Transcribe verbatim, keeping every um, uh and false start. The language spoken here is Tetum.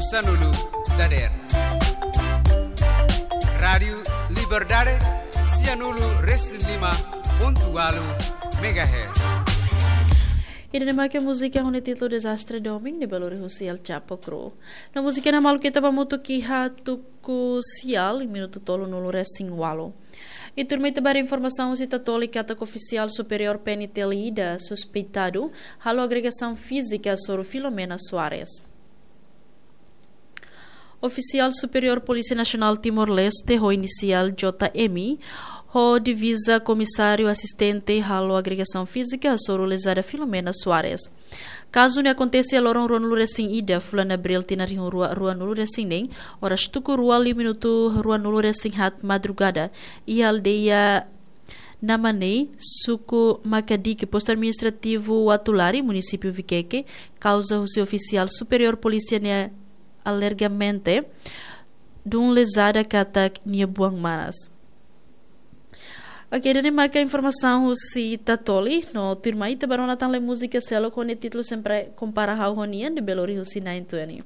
Sanulu dader. Rádiu Liberdade, sianulu resin lima pontu walu megahertz. Ida-ne'e mak múzika ho nia títulu Dezastre Domin, ne'ebé lori husi El Chapo Crew. No múzika ne'e malu ita ba mutu kiha tuku sial, minutu tolunulu resin walu. I tuirmai ita ba informasaun husi Tatoli katak ofisiál superiór P N T L ida suspeitadu halo agresaun fízika hasoru Filomena Soares. Ofisiál superiór Polísia Nasionál Timor-Leste ho inisiál J M, ho diviza komisáriu asistente halo agresaun fízika hasoru lezada Filomena Soares. Kazu ne'e akontese iha loron ruanulu resin ida fulan Abril tinan rihun rua ruanulu resin neen, oras tuku rua liu minutu ruanulu resin haat madrugada, iha aldeia Namanei, suku Makadiki, postu administrativu Uatulari, munisípiu Vikeke, kauza husi ofisiál superiór polísia ne'e alegadamente dun lezada katak nia buan manas. Ok, ida-ne'e mak informasaun husi Tatoli, no tuirmai ita ba rona tan lai múzika seluk ho nia títulu Sempre Kompara Ha'u ho Nia, ne'ebé lori husi Nine Twenty.